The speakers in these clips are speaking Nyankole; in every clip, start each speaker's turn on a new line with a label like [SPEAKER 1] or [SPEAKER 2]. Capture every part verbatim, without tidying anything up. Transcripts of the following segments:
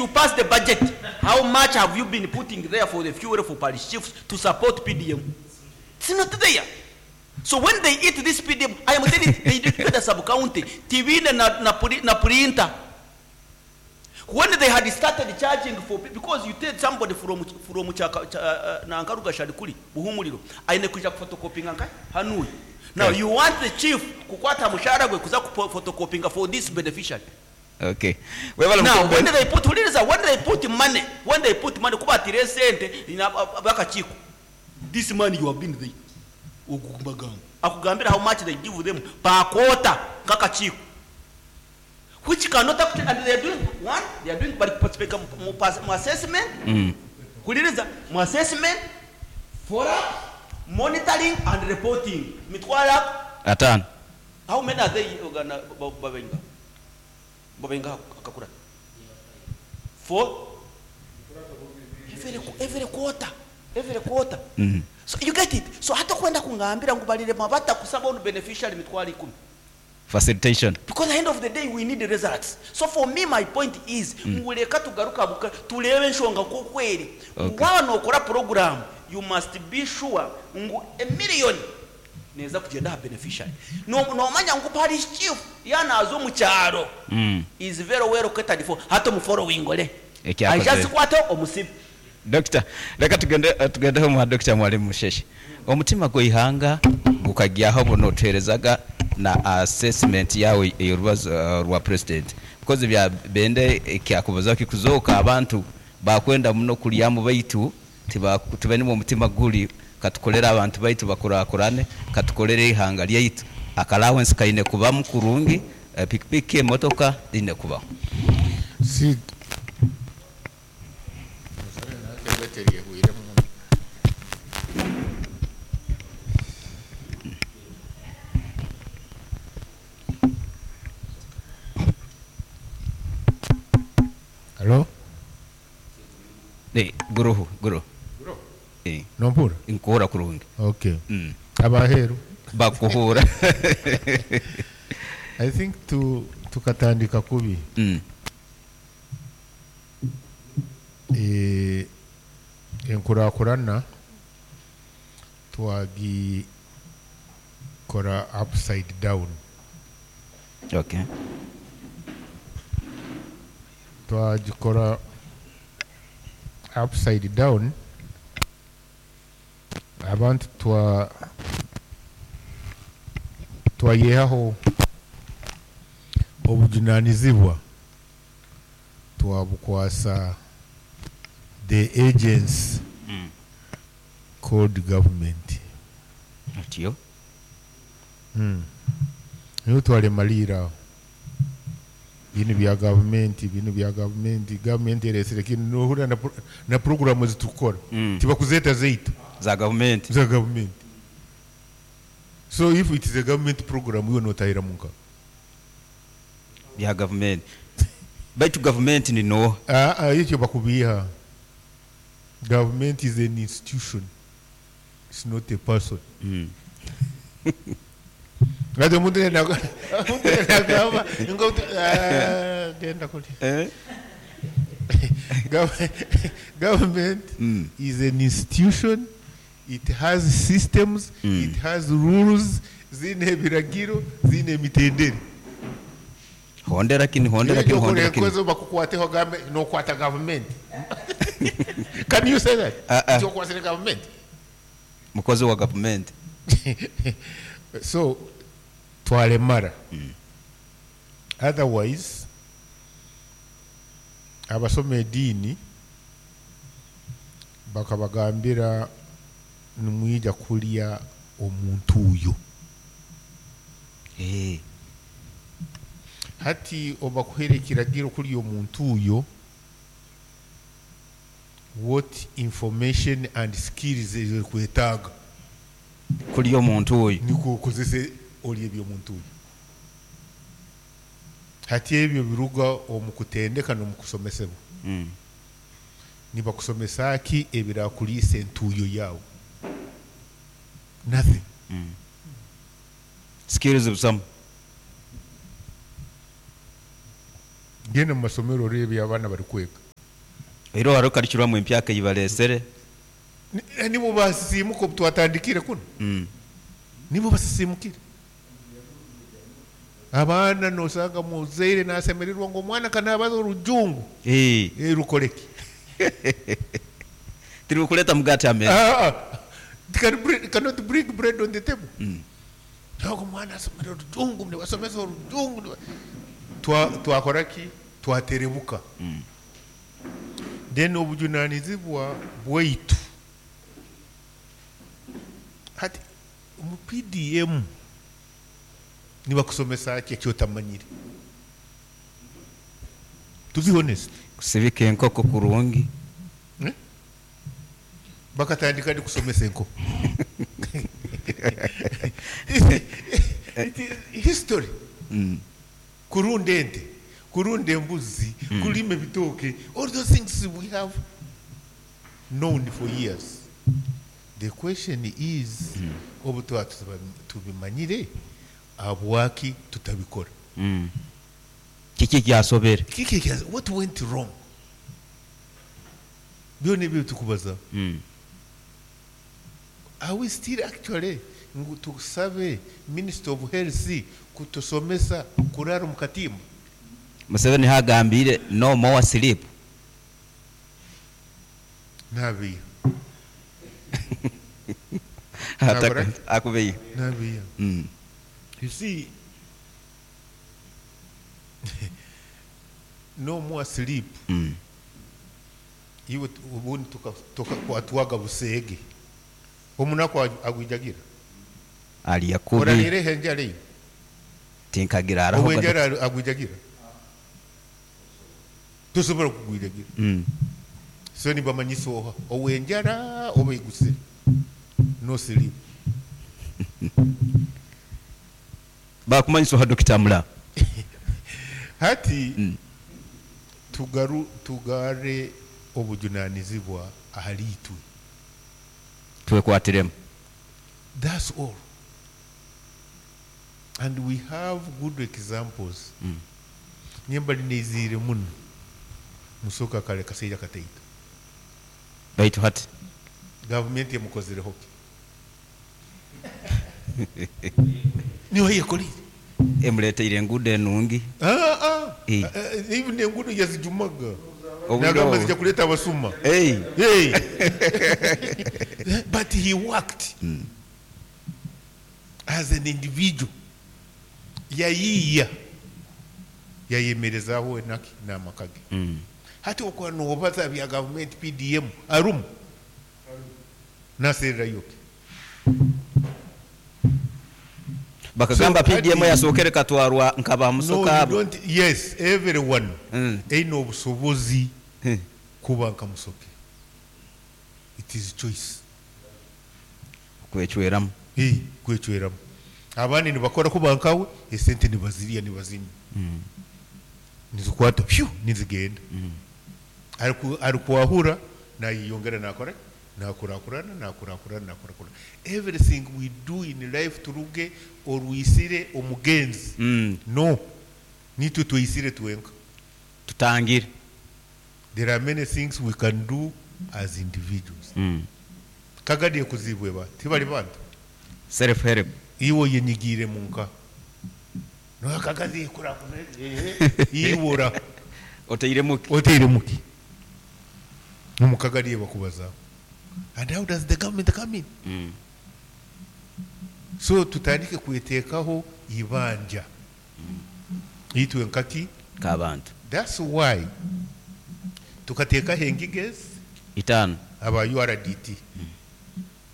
[SPEAKER 1] You pass the budget. How much have you been putting there for the fuel for parish chiefs to support P D M? It's not there. So when they eat this P D M, I am telling you, they did the sub-county, T V na, na, na printer. When they had started charging for, because you take somebody from, from Chaka, ch-, uh, Nankaruga Shadikuli, Buhumuliro, aine kuja photocopying anka, Hanui. Now you want the chief kukwata mushahara gwe kuza photocopying for this beneficiary.
[SPEAKER 2] Okay. Well,
[SPEAKER 1] now when they put, when they put money, when they put money, kuba tire sente ina bakachiko. This money you have been there. Ogugumagamba. Akugambira how much they give them per quarter kakachiko. Which cannot actually, and they are doing one, they are doing participate assessment,
[SPEAKER 2] mm.
[SPEAKER 1] assessment, follow-up, monitoring and reporting. Mitwala
[SPEAKER 2] atan.
[SPEAKER 1] How many are they gonna babenga? Babenga akakura. Four. Every, every quarter, every quarter.
[SPEAKER 2] Mm.
[SPEAKER 1] So you get it. So hata kwenda kungambira ngubalire mabata kusaba on beneficiary mitwala ikumi.
[SPEAKER 2] Facilitation.
[SPEAKER 1] Because at the end of the day, we need the results. So for me, my point is, nguleka tugaruka buka, tulewe nshonga kukweli.
[SPEAKER 2] Okay.
[SPEAKER 1] Wano okora program, you must be sure ngu a million neza kugenda beneficiary. No, no manya ngu parish chief yana azo mu kyaro.
[SPEAKER 2] Mm.
[SPEAKER 1] Is very well catered for. Hato mu following ole.
[SPEAKER 2] Ekyakoze.
[SPEAKER 1] Aja sikwata omusibe.
[SPEAKER 2] Doctor, reka tugende, tugende ho Doctor Mwalimu Musheshi. Omutima gwihanga gukagyaho buno tuherezaga na assessment yawe yorubazo uh, rwa president, because bya bende kyakubuza kikuzoka abantu bakwenda muno kulyamu baitu tibane mu mutima guli katukolera abantu baitu bakurakurane katukolere ihanga lyaitu allowance kaine kuba mukurungi uh, pikipiki emotoka ine kuba
[SPEAKER 3] si Hello?
[SPEAKER 2] Eh, guruhu, guru.
[SPEAKER 3] Guru.
[SPEAKER 2] Eh.
[SPEAKER 3] Nompura?
[SPEAKER 2] Inkora kurungi.
[SPEAKER 3] Okay.
[SPEAKER 2] Mm.
[SPEAKER 3] Abaheru.
[SPEAKER 2] Bakuhura.
[SPEAKER 3] I think to tukatandika kubi.
[SPEAKER 2] Mm.
[SPEAKER 3] Eh, enkurakurana twagi kora upside down.
[SPEAKER 2] Okay.
[SPEAKER 3] Twagikora upside down abantu twa twayehaho obujunanizibwa twabukwasa the agents
[SPEAKER 2] mm.
[SPEAKER 3] called government.
[SPEAKER 2] Atiyo
[SPEAKER 3] mm. Niyo twalemalira bino bya government, bino bya government, government eresere kino nohura na, na programu zitukora
[SPEAKER 2] mm.
[SPEAKER 3] Tibakuzeta zeitu
[SPEAKER 2] za government
[SPEAKER 3] za government. So if it is a government program you notahira munka
[SPEAKER 2] bya government baitu government ni no
[SPEAKER 3] ah ah icyo bakubiha. Government is an institution, it's not a person.
[SPEAKER 2] Mm.
[SPEAKER 3] Ngado muntu na muntu na gava ngo genda kuli.
[SPEAKER 2] Eh?
[SPEAKER 3] Government
[SPEAKER 2] mm.
[SPEAKER 3] is an institution, it has systems,
[SPEAKER 2] mm.
[SPEAKER 3] it has rules, zine biragiro, zine mitendere.
[SPEAKER 2] Hondera kini, hondera kini, hondera kini.
[SPEAKER 3] Kwezo bakukwate gambe no kwata government. Can you say that?
[SPEAKER 2] Uh, uh.
[SPEAKER 3] Cyo kwasire government.
[SPEAKER 2] Mukozi wa government.
[SPEAKER 3] So twalemara.
[SPEAKER 2] Mm.
[SPEAKER 3] Otherwise abasoma eddiini bakabagambira nimwija kulya omuntu oyo.
[SPEAKER 2] Eh.
[SPEAKER 3] Hati obakuhere ekiragiro kulya omuntu oyo, what information and skills ezikwetaaga
[SPEAKER 2] kulya omuntu oyo
[SPEAKER 3] niko okozese olya eby'omuntu oyo. Hati ebyo biruga omu kutendeka n'omu kusomesebwa.
[SPEAKER 2] Mm.
[SPEAKER 3] Nibakusomesa ki ebirakuliisa entuuyo yaawe? Nothing.
[SPEAKER 2] Mm. Skills busamu.
[SPEAKER 3] Genda mu masomero orebe abaana bari kwega.
[SPEAKER 2] Oihireho hariho curriculum empyaka ei bareesire.
[SPEAKER 3] Ni- nibo basisiimuka obu twatandikire kuno.
[SPEAKER 2] Mm.
[SPEAKER 3] Nibo basisimukire abaana, nosanga muzaire nasemererwa ngu omwana kanabaza orujungu.
[SPEAKER 2] Eh,
[SPEAKER 3] Eh, rukoreki?
[SPEAKER 2] Tirikuleta mugati ameza.
[SPEAKER 3] Ah, ah. It can bring, cannot bring bread on the table.
[SPEAKER 2] Mm.
[SPEAKER 3] Ntabwo omwana asomera orujungu, nibasomesa orujungu, niba- Twa- twakora ki? Twaterebuka.
[SPEAKER 2] Mm.
[SPEAKER 3] Then obujunanizibwa bwaitu hati mu P D M nibakusomesa ki ekyotamanyire, to be honest?
[SPEAKER 2] Kusibika enkoko kurungi.
[SPEAKER 3] Eh? Bakatandika ndi kusomesa enkoko? It is history.
[SPEAKER 2] Mm.
[SPEAKER 3] Kurunda ente, kurunda embuzi, kulima ebitooke, all those things we have known for years. The question is, obu tuba tuba- tubimanyire, habwaki tutabikora?
[SPEAKER 2] Mm. Kiki kyasobere?
[SPEAKER 3] Kiki kya- what went wrong? Byona ebyo tukubaza.
[SPEAKER 2] Mm.
[SPEAKER 3] Are we still actually ngu tusabe Minister of Health kutusomesa kurara mu katimba?
[SPEAKER 2] Museveni hagambire no more sleep.
[SPEAKER 3] Nabiya.
[SPEAKER 2] Ataka-
[SPEAKER 3] Nabura?
[SPEAKER 2] Akubeyo.
[SPEAKER 3] Nabiya.
[SPEAKER 2] Mm.
[SPEAKER 3] You see, no more sleep.
[SPEAKER 2] Mm.
[SPEAKER 3] Iwe tu- ubundi tukakwatwaga buseege, omunaku agwijagira.
[SPEAKER 2] Alya kubi.
[SPEAKER 3] Orarire enjara eyo.
[SPEAKER 2] Tinkagira araho.
[SPEAKER 3] Obwenjara agwijagira, tosobola kugwijagira.
[SPEAKER 2] Mm.
[SPEAKER 3] So nibamanyisa oha owenjara oba egusire, no sleep.
[SPEAKER 2] Bakumanyisa oha, Dokita Mula?
[SPEAKER 3] Hati
[SPEAKER 2] Mm.
[SPEAKER 3] tugaru tugare obujunanizibwa ahali itwe.
[SPEAKER 2] Twekwatiremu.
[SPEAKER 3] That's all, and we have good examples.
[SPEAKER 2] Mm.
[SPEAKER 3] Nyemba lineziire muno musoka kale kaseija kataito.
[SPEAKER 2] Baitu hati
[SPEAKER 3] gavumenti emukozireho ki? Niyo yekolire.
[SPEAKER 2] Emuleteire enguudo enungi.
[SPEAKER 3] Ah, ah.
[SPEAKER 2] Eh.
[SPEAKER 3] Eh, even enguudo yazijumaga.
[SPEAKER 2] Obudde
[SPEAKER 3] nagamba
[SPEAKER 2] obwo.
[SPEAKER 3] zijja kuleeta abasuma.
[SPEAKER 2] Hey.
[SPEAKER 3] Hey. But he worked as an individual, yayiiya, yayemerezaaho enaki n'amaka ge.
[SPEAKER 2] Mm.
[SPEAKER 3] Hati okuba nobaza bya gavumenti P D M arumu nasererayo ki?
[SPEAKER 2] Bakagamba
[SPEAKER 3] So,
[SPEAKER 2] P D M
[SPEAKER 3] hati-
[SPEAKER 2] yasookere katwarwa nkaba
[SPEAKER 3] No,
[SPEAKER 2] musoka
[SPEAKER 3] you
[SPEAKER 2] abo.
[SPEAKER 3] don't, yes, everyone
[SPEAKER 2] Mm.
[SPEAKER 3] eine obusobozi
[SPEAKER 2] Hmm.
[SPEAKER 3] kuba nka Musoke. It is choice.
[SPEAKER 2] Kwecweramu.
[SPEAKER 3] Eh, kwecweramu. Abandi nibakora kuba nkawe, esente nibazirya, nibazinywa, nizikwata pyu, nizigenda. Ariku- arikwahura nayeyongera, nakora, nakurakurana, nakurakurana, nakurakurana. Everything we do in life, turuge orwisire omugenzi.
[SPEAKER 2] Mm.
[SPEAKER 3] No, nitwe tweyisire twenka.
[SPEAKER 2] Tutangire.
[SPEAKER 3] There are many things we can do as individuals.
[SPEAKER 2] Mm.
[SPEAKER 3] Kagadi kuzibwe ba tibali bantu.
[SPEAKER 2] Self help.
[SPEAKER 3] Iwe yenyigiire munka nakagazi iwora.
[SPEAKER 2] Oteiremu ki?
[SPEAKER 3] Oteire muki omukagadi bakubaza, and how does the government come in?
[SPEAKER 2] Mm.
[SPEAKER 3] So tutandike kweteekaho ibanja itwe nkaki?
[SPEAKER 2] Kabantu.
[SPEAKER 3] That's why tukateekaho engiga ezi
[SPEAKER 2] Itaano.
[SPEAKER 3] Aba U R D T,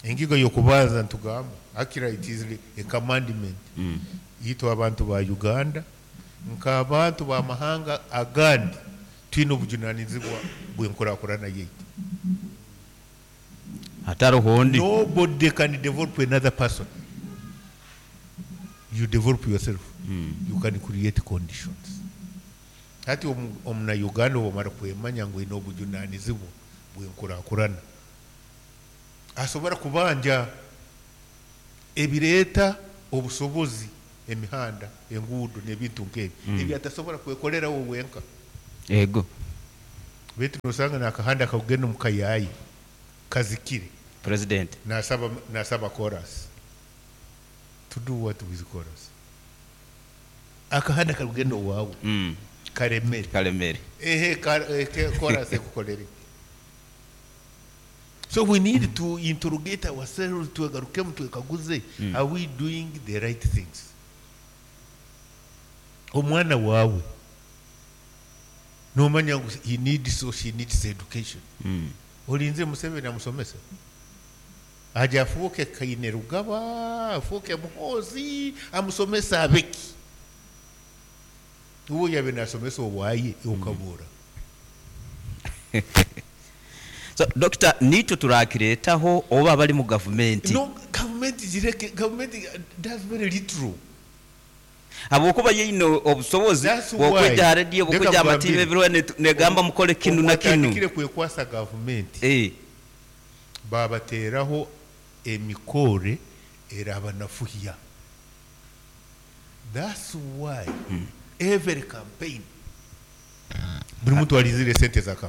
[SPEAKER 3] engiga yokubanza ntugamba akira it is a commandment.
[SPEAKER 2] Mm.
[SPEAKER 3] Itwe abantu ba Uganda nk'abantu b'amahanga agandi twine obujunanizibwa bw'enkurakurana yaitu.
[SPEAKER 2] Hataroho ondi.
[SPEAKER 3] Nobody can develop another person. You develop yourself.
[SPEAKER 2] Mm.
[SPEAKER 3] You can create conditions. Hati omu- omunauganda obwamara kwemanya ngu ine obujunanizibwa bw'enkurakurana, asobora kubanja ebireeta obusobozi, emihanda, enguudo n'ebintu nk'ebyo,
[SPEAKER 2] Mm.
[SPEAKER 3] ebyo atasobora kwekolerawo wenka.
[SPEAKER 2] Ego.
[SPEAKER 3] Baitu nosanga nakahanda kakugenda omu kayaaya kazikire.
[SPEAKER 2] President.
[SPEAKER 3] Nasaba nasaba chorus. To do what with chorus? Akahanda karikugenda owaawe
[SPEAKER 2] Mm.
[SPEAKER 3] karemere.
[SPEAKER 2] Kalemere.
[SPEAKER 3] Ehe, ka- eh, ke- chorus ekukolere. So we need to interrogate ourselves, twegarukemu, twekaguze, are we doing the right things? Omwana waawe nomanya ngu he needs or she needs education.
[SPEAKER 2] Mm.
[SPEAKER 3] Olinze Museveni amusomese aje afuuke Kaine Rugaba, afuuke Muhoozi, amusomese abeki? Uwo yabe nasomesa owaaye okabura.
[SPEAKER 2] So doctor, nitwe turakireetaho oba bali mu gavumenti?
[SPEAKER 3] No, gavumenti zireke. Gavumenti does very little.
[SPEAKER 2] Habwokuba yeine obusobozi
[SPEAKER 3] That's why.
[SPEAKER 2] bwokwejja ha rediyo,
[SPEAKER 3] Leka
[SPEAKER 2] bwokwejja amativi
[SPEAKER 3] nkugambire.
[SPEAKER 2] ebiriho ne- negamba mukole kinu na kinu.
[SPEAKER 3] Otandikire kwekwasa gavumenti,
[SPEAKER 2] Eh,
[SPEAKER 3] babateeraho emikore erabanafuhya. That's why every campaign buri muntu alizire sente za campaign.